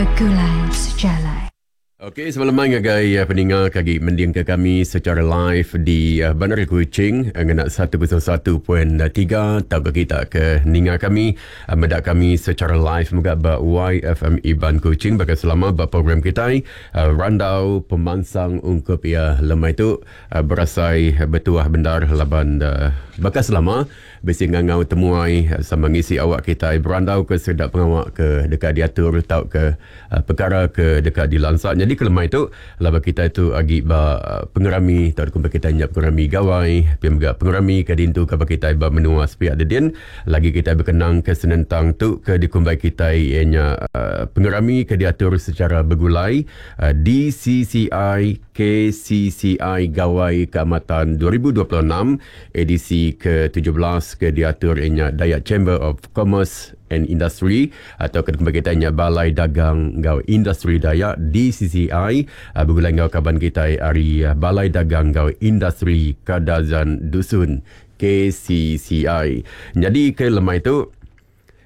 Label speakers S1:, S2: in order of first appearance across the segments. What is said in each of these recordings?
S1: Begulai sejalai.
S2: Okey, sebelum mai ngagai eh, peninga ke agi mendingka kami secara live di eh, Bandar Kuching eh, ngena 101.3 tauka kita ke ninga kami eh, meda kami secara live mega ba YFM Iban Kuching baka selama ba program kitai eh, Randau Pemansang ungkup iya lemai tu eh, berasai betuah bendar laban eh, baka selama Bisi ngangau temuai sama ngisi awak kitai berandau ke sekeda pengawa ke deka diatur tauka pekara ke deka dilansa. Nyadi ke lemai tu laban kitai tu agi ba pengerami tauka kumbai kitai nya pengerami gawai pia mega pengerami ke diintu kaban kitai ba menua sepiak dedin lagi kitai bekenang ke senentang tu ke dikumbai kitai iya nya pengerami ke diatur secara begulai DCCI KCCI Gawai Kaamatan 2026. Edisi ke 17 ke diatur iya nya Dayak Chamber of Commerce and Industry atau ke dikumbai kitai nya Balai Dagang enggau Industri Dayak DCCI begulai enggau kaban kitai ari Balai Dagang enggau Industri Kadazan Dusun KCCI. Nyadi ke lemai tu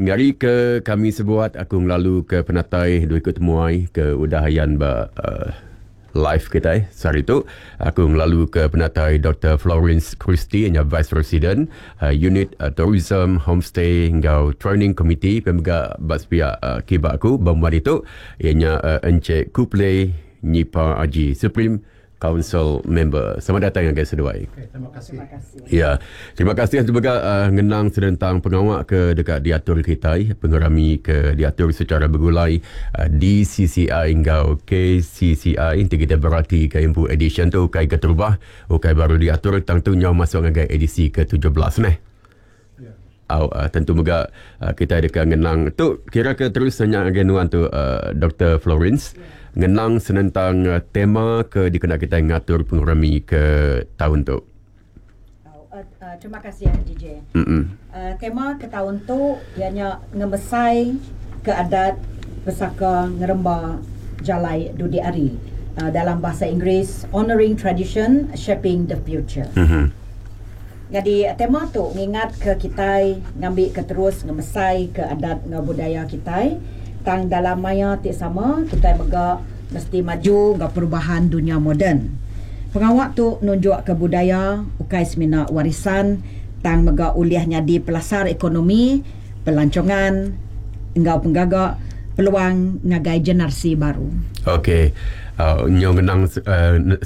S2: ngari ke kami sebuat aku ngelalu ke penatai dua iku temuai ke udah ayan ba uhh live kitai sehari tu. Aku ngelalu ke penatai Doktor Florence Christy nya Vice President Unit Tourism Homestay enggau Training Committee pia mega ba sepiak kiba aku ba mua ditu iya nya Encik Kupley Nyipa Aji Supreme Council member. Selamat datang ngagai seduai.
S3: Okay, terima kasih.
S4: Terima kasih.
S2: Ya. Terima kasih juga ngenang senentang pengawa ke deka diatur kitai, pengerami ke diatur secara begulai DCCI enggau KCCI. Enti kitai beratika empu edisyen tu ukai keterubah, ukai baru diatur tang tu nyau masuk ngagai edisi ke 17 neh. Au tentu mega kitai deka ngenang tu kira ke terus nanya ngagai nuan tu Doktor Florence ngenang senentang tema ke dikena kitai ngatur pengerami ke taun tu.
S4: Au terima kasih DJ. Tema ke taun tu iya nya ngemesai ke adat pesaka ngeremba jalai dudi hari dalam bahasa Inggeris Honouring Tradition Shaping the Future. Nyadi tema tu ngingatka kitai ngambika terus ngemesaika adat enggau budaya kitai tang dalam maya ti sama kitai mega mesti maju enggau perubahan dunya moden. Pengawa tu nunjukka budaya ukai semina warisan tang mega ulih nyadi pelasar ekonomi, pelancongan enggau penggaga peluang ngagai generasi baru.
S2: Okey. Nyau ngenang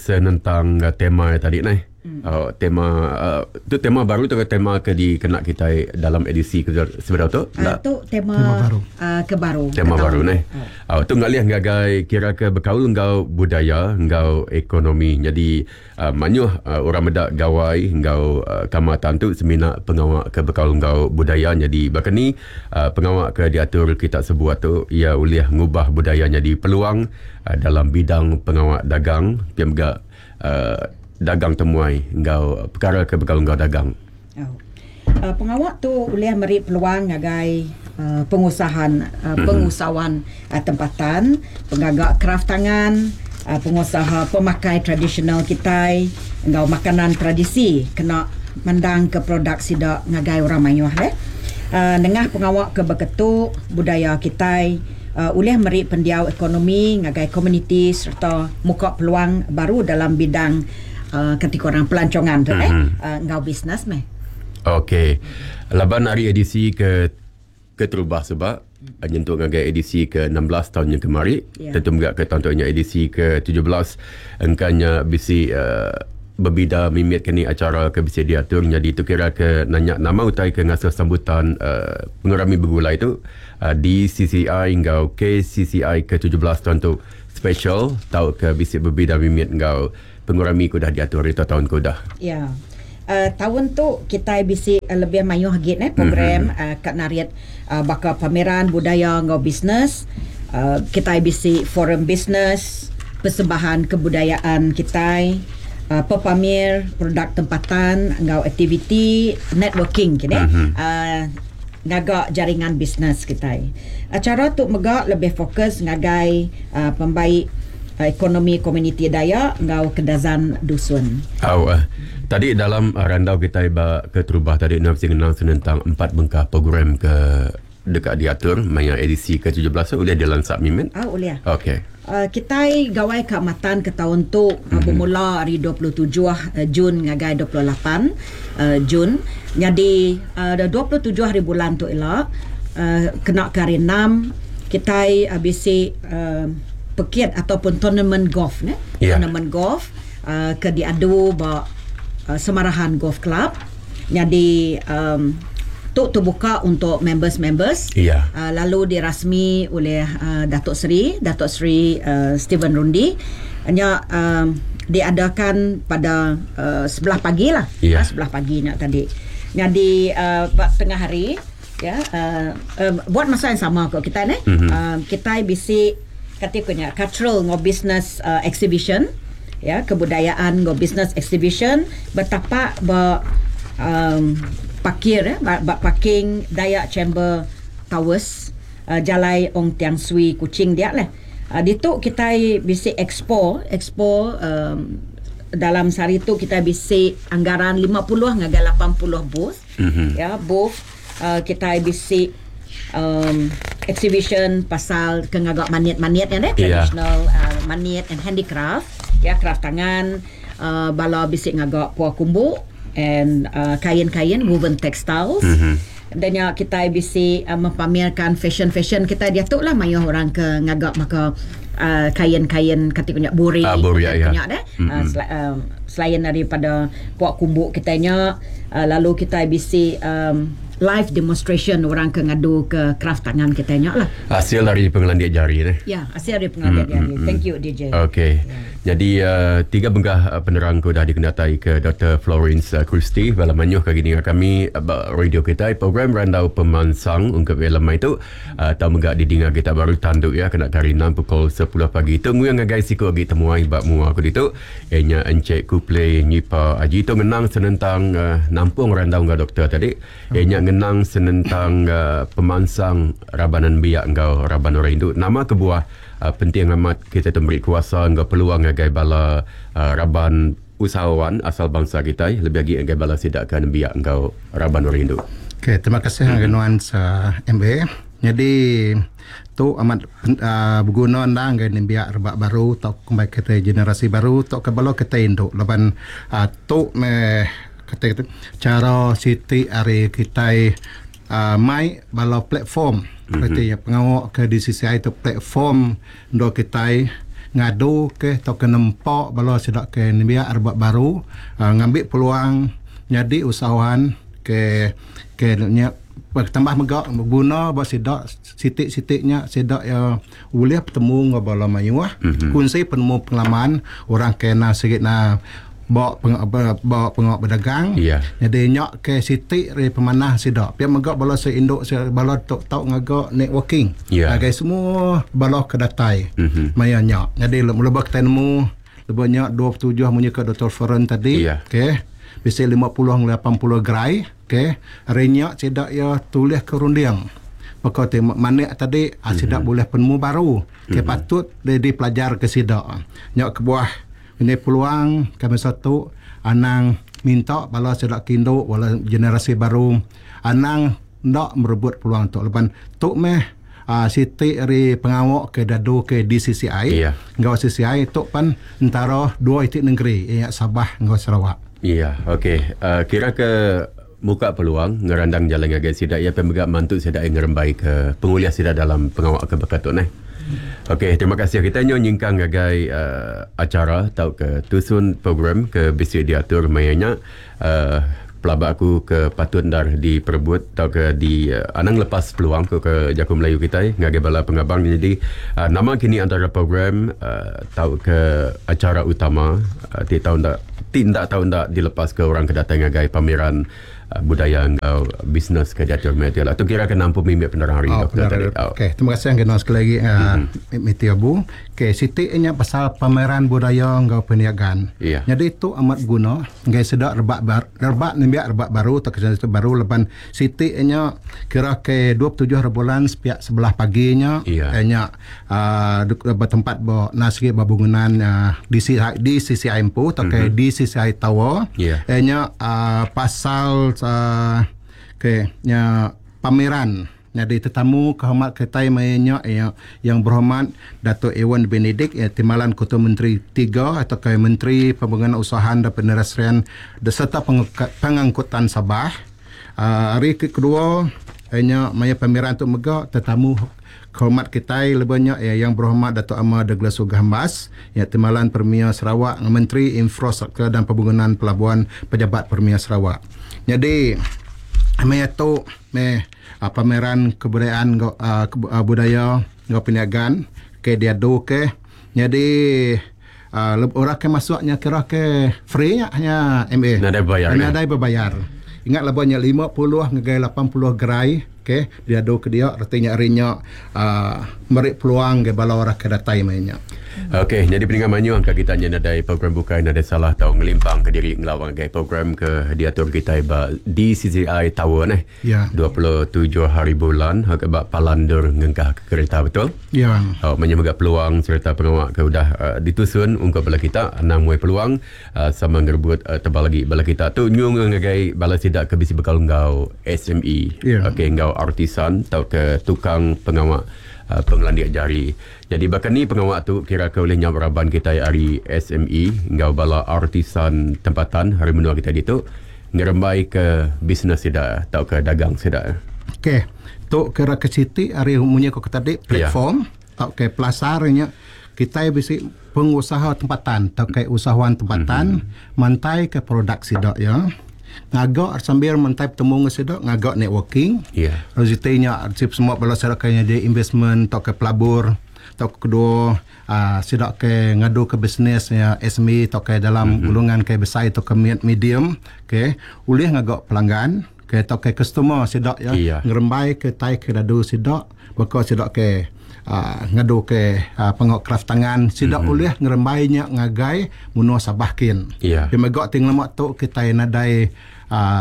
S2: senentang tema tadi neh. Oh, tema uh, tu tema baru tu ke tema ke dikena kitai dalam edisi ke sebedau tu?
S4: Uh, tu tema, tema baru. Uh, ke baru.
S2: Tema baru neh. Oh. Uh, tu ngalih ngagai kira ke bekaul enggau budaya enggau ekonomi. Jadi uh, mayuh uh, orang meda gawai enggau uh, kamatan tu semina pengawa ke bekaul enggau budaya. Jadi baka ni uh, pengawa ke diatur kita sebuat tu ia ulih ngubah budaya nyadi peluang uh, dalam bidang pengawa dagang pia mega uh, dagang temuai enggau pekara ke bekaul enggau dagang.
S4: Oh. Uh, pengawa tu ulih meri peluang ngagai uh, pengusahan uh, pengusahawan uh, tempatan, pengaga kraf tangan, uh, pengusaha pemakai tradisional kitai enggau makanan tradisi kena mendang ke produk sida ngagai orang mayuh deh. Uh, nengah pengawa ke beketu budaya kitai ulih meri pendiau ekonomi ngagai komuniti sereta muka peluang baru dalam bidang kati ku orang pelancongan tu eh enggau bisnes meh.
S2: Okey. Laban ari edisi ke keterubah suba nyentuk ngagai edisi ke 16 taun nya kemari yeah. tentu mega ke taun tu nya edisi ke 17 engka nya bisi uh, bebida mimit ke ni acara ke bisi diatur nyadi tu kira ke nanya nama utai ke ngasuh sambutan uh, pengerami begulai tu DCCI enggau KCCI ke 17 taun tu special tauka bisi bebida mimit enggau pengerami ke udah diatur ari taun ke udah.
S4: Ya. Uh, taun tu kitai bisi uh, lebih mayuh agi neh program mm-hmm. uh, ka narit uh, baka pameran budaya enggau bisnes. Uh, kitai bisi forum bisnes, persembahan kebudayaan kitai, uh, pepamir produk tempatan enggau aktiviti networking kini. Mm-hmm. Uh, ngaga jaringan bisnes kitai. Acara tu mega lebih fokus ngagai pembaik ekonomi komuniti Dayak enggau Kedazan Dusun.
S2: Au. Tadi dalam randau kitai ba keterubah tadi enda mesti ngenang senentang empat bengkah program ke. deka diatur maya edisi ke 17 tu ulih dilansak mimit?
S4: Au ulih.
S2: Okey.
S4: Kitai Gawai Kaamatan ke taun tu bemula ari 27 Jun ngagai 28 Jun. Nyadi 27 hari bulan tu ila kena ke hari enam kitai bisi pekit ataupun tournament golf neh. Tournament golf ke diadu ba Samarahan Golf Club. Nyadi tu terbuka untuk members-members lalu dirasmi oleh Datuk Seri Datuk Seri Stephen Rundi. Nya diadakan pada sebelah pagi lah. Sebelah pagi nya tadi. Nyadi ba tengah hari ya buat masa yang sama ko kitai neh. Kitai bisi kati ku nya cultural enggau business exhibition ya kebudayaan enggau business exhibition betapak ba um parkir ya ba parking Dayak Chamber Towers Jalai Ong Tiang Swee Kuching dia leh. Ditu kitai bisi expo expo um dalam sehari tu kitai bisi anggaran 50 ngagai 80 booth ya booth kitai bisi um exhibition pasal ke ngaga manit-manit nya deh traditional manit and handicraft ya craft tangan bala bisi ngaga pua kumbu and kain-kain woven textiles. Dan nya kitai bisi mempamerkan fashion-fashion kitai diatu lah mayuh orang ke ngaga maka kain-kain kati ku nya buri
S2: buri
S4: ku nya deh selain daripada pua kumbu kitai nya lalu kitai bisi live demonstration orang ke ngadu ke craft tangan kitai nya lah.
S2: Hasil ari pengelandik jari neh.
S4: Ya hasil ari pengelandik jari. Thank you DJ.
S2: Okey. Nyadi tiga bengkah penerang ke udah dikenatai ke Doktor Florence Christie bala mayuh ke agi ninga kami ba radio kitai program Randau Pemansang ungkup iya lemai tu tau mega didinga kita baru tandu iya kena ke hari enam pukul sepuluh pagi tu nguing ngagai siku agi temuai ba mua aku ditu iya nya Encik Kupley Nyipa Aji tu ngenang senentang nampung randau enggau doktor tadi iya nya ngenang senentang pemansang raban nembiak enggau raban orang indu nama kebuah Penting amat kitai tu meri kuasa enggau peluang ngagai bala raban usahawan asal bansa kitai lebih agi ngagai bala sida ke nembiak enggau raban orang indu.
S3: Okey, terima kasih ngagai nuan MA. Nyadi tu amat beguna endang ngagai nembiak rebak baru tauka kumbai kitai generasi baru tauka bala kitai indu laban tu meh kati chara siti ari kitai Mai bala platform reti iya pengawa ke di CCI tu platform endur kitai ngadu ke tauka nempa bala sida ke nembiak rebak baru ngambi peluang nyadi usahawan ke ke nya tambah mega beguna ba sida siti siti nya sida iya ulih betemu enggau bala mayuh kunsi penemu pengalaman orang ke enda sigi na ba ba pengawa bedagang nyadi nya ke siti ari pemanah sida pia mega bala seindu bala tu tau ngaga networking ngagai semua bala ke datai maya nya nyadi lebuh kitai nemu lebuh nya 27 munyi ke Doktor Feren tadi okey bisi 50 ngagai 80 gerai okey ari nya sida iya tulih ke runding baka ti manik tadi sida bulih penemu baru ke patut dipelajar ke sida nya kebuah Ini peluang kami satu anang minta bala sida ke indu bala generasi baru anang enda merebut peluang tu laban tu meh aaa siti ari pengawa ke dadu ke DCCI enggau CCI tu pan entara dua iti nengeri iya nya Sabah enggau Sarawak.
S2: Iya okey kira ke muka peluang ngerandang jalai ngagai sida iya pia mega mantu sida iya ngerembai ke pengulih sida dalam pengawa ke baka tu neh. Okey terima kasih kita nyu nyingkang ngagai uhh acara tauka tusun program ke bisi diatur maya nya uhh pelaba aku ke patut endar diperebut tauka di anang lepas peluang ku ke jaku Melayu kitai ngagai bala pengabang nyadi uhh nama kini antara program uhh tauka acara utama ti tau enda ti enda tau enda dilepaska orang ke datai ngagai pameran budaya enggau bisnes ke diatur maya ti lah. Tu kira ke nampung mimit penerang hari
S3: oh,
S2: doktor tadi.
S3: Oh. Okey, terima kasih anggai sekali lagi Miti Abu. Okey, siti nya pasal pameran budaya enggau perniagaan.
S2: Yeah.
S3: Jadi tu amat guna enggai sida rebak bar, rebak nembiak rebak baru atau generasi baru laban siti nya kira ke 27 hari bulan sepiak sebelah pagi nya
S2: yeah.
S3: nya Ba tempat ba nasib ba bangunan DCI DCCI empu tauka DCCI Tower iya nya pasal ke nya pameran. Jadi tetamu kehormat kita mainnya ya, yang berhormat Datuk Ewon Benedick ya, Timbalan Ketua Menteri 3 atau ke Menteri Pembangunan Usahawan dan Penerian serta Pengangkutan Sabah. Hari kedua hanya maya pameran tu mega tetamu kehormat kita lebihnya ya, yang berhormat Datuk Amar Douglas Uggah Embas ya, Timbalan Premier Sarawak, Menteri Infrastruktur dan Pembangunan Pelabuhan Pejabat Premier Sarawak. Jadi maya tu me pameran kebudayaan budaya ngau perniagaan ke diadu ke. Jadi orang ke masuknya kira ke free nya hanya MA.
S2: Nadai bayar.
S3: Nadai berbayar. Ingat labanya 50 ngagai 80 gerai ke diadu ke dia artinya harinya meri peluang ke bala orang ke datai mainnya.
S2: Okey, jadi pendengar manyu angka kita nya nadai program bukai nadai salah tau ngelimpang ke diri ngelawang ke program ke diatur kita ba DCCI Tower neh.
S3: Ya.
S2: 27 hari bulan ke ba Palandur ngengkah ke kereta betul?
S3: Ya.
S2: Oh, manyu mega peluang serta pengawak ke udah ditusun untuk bala kita nang muai peluang sama ngerebut tebal lagi bala kita tu nyung ngagai bala sida ke bisi bekal ngau SME.
S3: Ya.
S2: Okey, ngau artisan atau ke tukang pengawak pengelandik jari. Jadi bahkan ni pengawak tu kira ke oleh nyawa raban kita hari SME ngau bala artisan tempatan hari menua kita ditu ngerembai ke bisnes sida atau ke dagang sida.
S3: Okey, tu kira ke siti hari munyi ko tadi platform atau ke pelasarnya kita bisi pengusaha tempatan atau ke usahawan tempatan mantai ke produk sida ya. Ngagak sambil mentai bertemu dengan sida, ngagak networking.
S2: Ya.
S3: Rezekinya semua bala sida kaya dia investment atau ke pelabur atau kedua sida ke ngadu ke bisnes ya SME atau ke dalam golongan ke besar atau ke medium, okey, boleh ngagak pelanggan ke atau ke customer sida ya, ngerembai ke tai ke dadu sida, bakal sida ke ngadu ke pengok kraft tangan sida boleh ngerembainya ngagai menua Sabah kin.
S2: Ya.
S3: Dia megak ting lemak tu kita nadai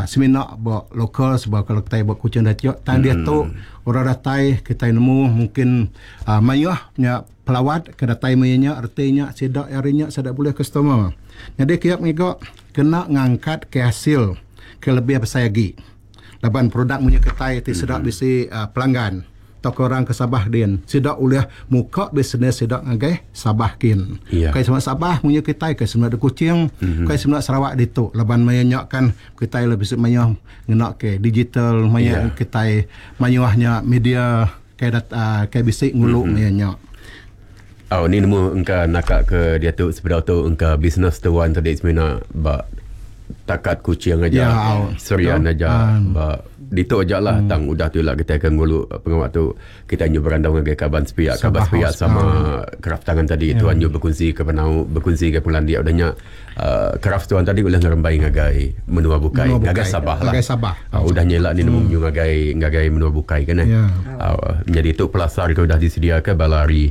S3: seminar buat lokal sebab kalau kita buat kucing dah tiok tan dia tu orang datai kita nemu mungkin mayuh punya pelawat ke datai mayuhnya artinya sida harinya sida boleh customer. Jadi kiap ngigak kena ngangkat ke hasil ke lebih besar lagi. Laban produk punya ketai ti sida bisi pelanggan atau orang ke Sabah din sida oleh muka bisnes sida ngagai Sabah kin.
S2: Yeah.
S3: Kai semua Sabah punya kita kai semua de Kuching, kai semua Sarawak ditu laban mayanya kan kita lebih mayuh ngena ke digital mayuh kita mayuhnya media kai kai bisi ngulu mayanya.
S2: Oh ni nemu engka nakak ke dia tu sepedau tu engka bisnes tuan tadi semina ba takat Kuching aja. Serian aja ba ditu aja lah tang udah tu lah kita akan ngulu pengawak tu kita nyu berandau dengan kaban sepiak kaban sepiak sama kraft tangan tadi tuan nyu berkongsi ke penau berkongsi ke pengelandia udahnya kraft tuan tadi boleh ngerembai ngagai menua bukai ngagai Sabah lah
S3: ngagai Sabah
S2: udah nyelak ni nemu nyu ngagai ngagai menua bukai kan jadi tu pelasar ke udah disediakan balari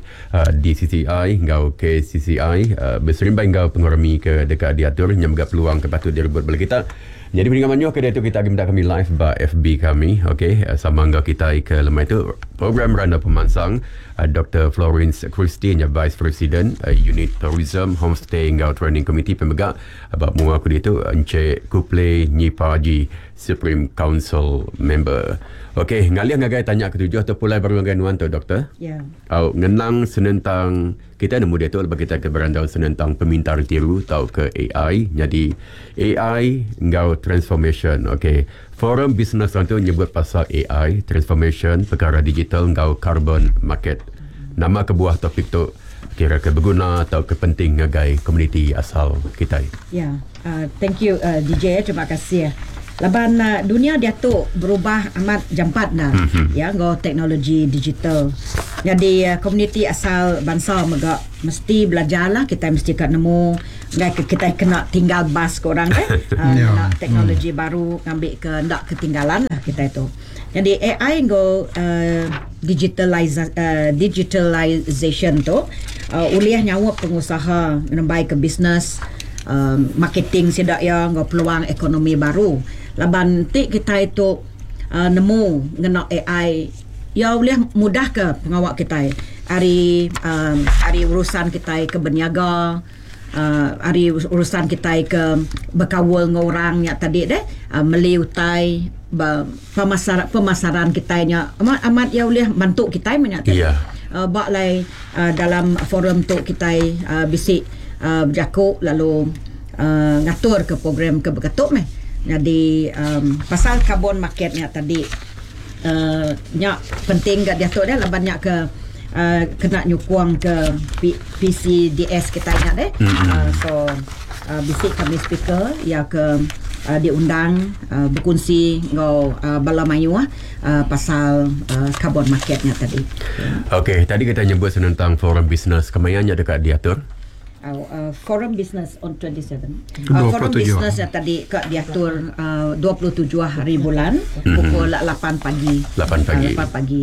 S2: DCCI ngau KCCI berserimbai ngau pengurami ke dekat diatur nyamga peluang ke patut direbut bala kita. Jadi pendengar manyu ke dia tu kita minta kami live ba FB kami, okey, sama enggau kita ke lemai tu program Randau Pemansang Dr. Florence Christie nya Vice President Unit Tourism Homestay enggau Training Committee pemegak ba mua aku dia tu Encik Kupley Nyipaji Supreme Council Member. Okey, ngalih ngagai tanya ketujuh tu pulai baru ngagai nuan tu doktor.
S4: Ya.
S2: Yeah. Ngenang senentang kita nemu dia tu lepas kita ke berandau senentang pemintar tiru atau ke AI. Jadi AI enggau transformation. Okey. Forum Bisnes tu nyebut pasal AI, transformation, perkara digital enggau carbon market. Nama kebuah topik tu kira ke berguna atau ke penting ngagai komuniti asal kita.
S4: Ya. Thank you DJ, terima kasih. Laban dunia dia tu berubah amat jampat nah. Ya, ngau teknologi digital. Jadi komuniti asal bangsa mega mesti belajarlah, kita mesti kat nemu ngai kita kena tinggal bas ke orang kan. Nak teknologi baru ngambil ke ndak ketinggalan lah kita itu. Jadi AI ngau digitalization tu uliah nyawa pengusaha ngerembai ke bisnes, marketing sidak ya ngau peluang ekonomi baru. Laban ti kita itu nemu ngena AI ya boleh mudah ke pengawak kita hari hari urusan kita ke berniaga, hari urusan kita ke berkawal dengan orang yang tadi deh, meli utai ba pemasar pemasaran kitai nya amat amat iya ulih mantu kitai meh nya tadi.
S2: Yeah.
S4: Ba alai dalam forum tu kitai bisi bejaku lalu ngatur ke program ke beketu meh. Nyadi pasal carbon market nya tadi nya penting ga diatu deh laban nya ke kena nyukung ke PCDS kitai nya deh. So bisi kami speaker iya ke diundang bekunsi enggau bala mayuh pasal carbon market nya tadi.
S2: Okey, tadi kita nyebut senentang forum bisnes kemaya nya deka diatur?
S4: Forum bisnes on 27. Forum bisnes nya tadi ka diatur 27 hari bulan pukul 8 pagi.
S2: 8 pagi.
S4: 8 pagi.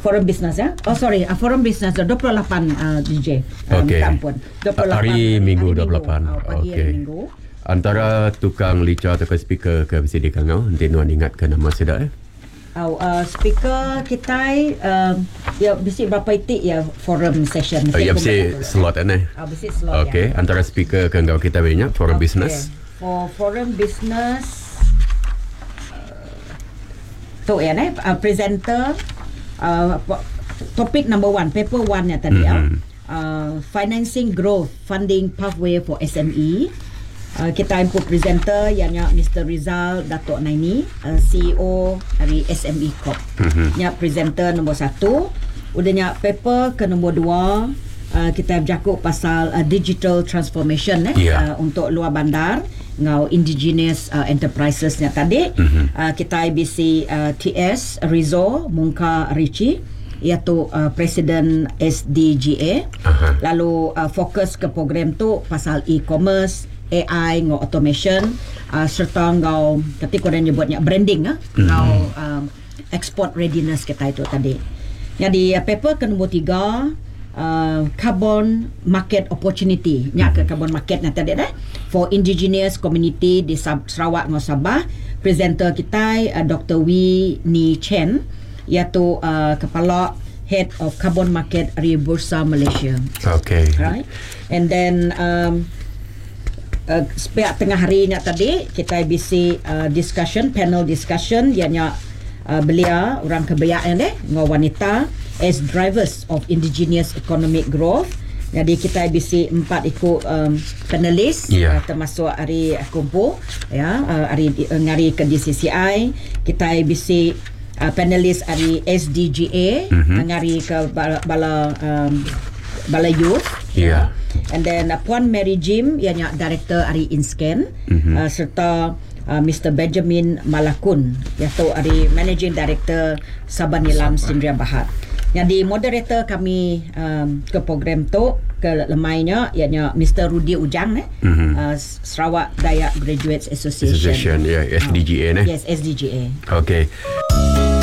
S4: Forum bisnes ya. Oh sorry, forum bisnes 28 DJ.
S2: Okey.
S4: Minta ampun. 28
S2: hari Minggu 28.
S4: Pagi hari
S2: Okey.
S4: Minggu.
S2: Antara tukang licha tauka speaker ke bisi dikangau enti nuan ingatka nama sida eh.
S4: Au speaker kitai ya bisi berapa iti ya forum session.
S2: Oh, ya bisi slot eh neh.
S4: Au bisi slot ya.
S2: Okey, antara speaker ke enggau kitai meh nya forum
S4: okay.
S2: business.
S4: For forum business tu ya neh presenter topik number one paper one nya tadi mm-hmm. Financing Growth Funding Pathway for SME. Kitai empu presenter iya nya Mister Rizal Dato Naini, CEO ari SME Corp. Nya presenter nombor satu. Udah nya paper ke nombor dua kitai bejaku pasal digital transformation eh untuk luar bandar enggau indigenous enterprises nya tadi. Kitai bisi TS Rizzo Mungka Richie. Iya tu Presiden SDGA lalu fokus ke program tu pasal e-commerce, AI enggau automation sereta enggau kati ku orang nyebut nya branding enggau export readiness kitai tu tadi. Nyadi paper ke nombor tiga carbon market opportunity nya ke carbon market nya tadi deh for indigenous community di Sarawak enggau Sabah. Presenter kitai Doktor Wee Nee Chen. Iya tu kepala Head of Carbon Market ari Bursa Malaysia.
S2: Okay.
S4: Right. And then um, sepiak tengah hari nya tadi kita bisi discussion panel discussion iya nya belia orang ke beyak nya deh enggau wanita as drivers of indigenous economic growth. Jadi kita bisi empat iku panelis termasuk ari aku empu ya ari ngari ke DCCI kita bisi panelis ari SDGA ngari ke bala bala youth. And then Puan Mary Jim iya nya director ari INSKEN serta Mister Benjamin Malakun iya tu ari managing director Sabah Nilam Sindria Bahad. Nyadi moderator kami ke program tu ke lemai nya iya nya Mister Rudy Ujang eh Sarawak Dayak Graduates Association.
S2: Association ya, SDGA neh.
S4: Yes, SDGA.
S2: Okey.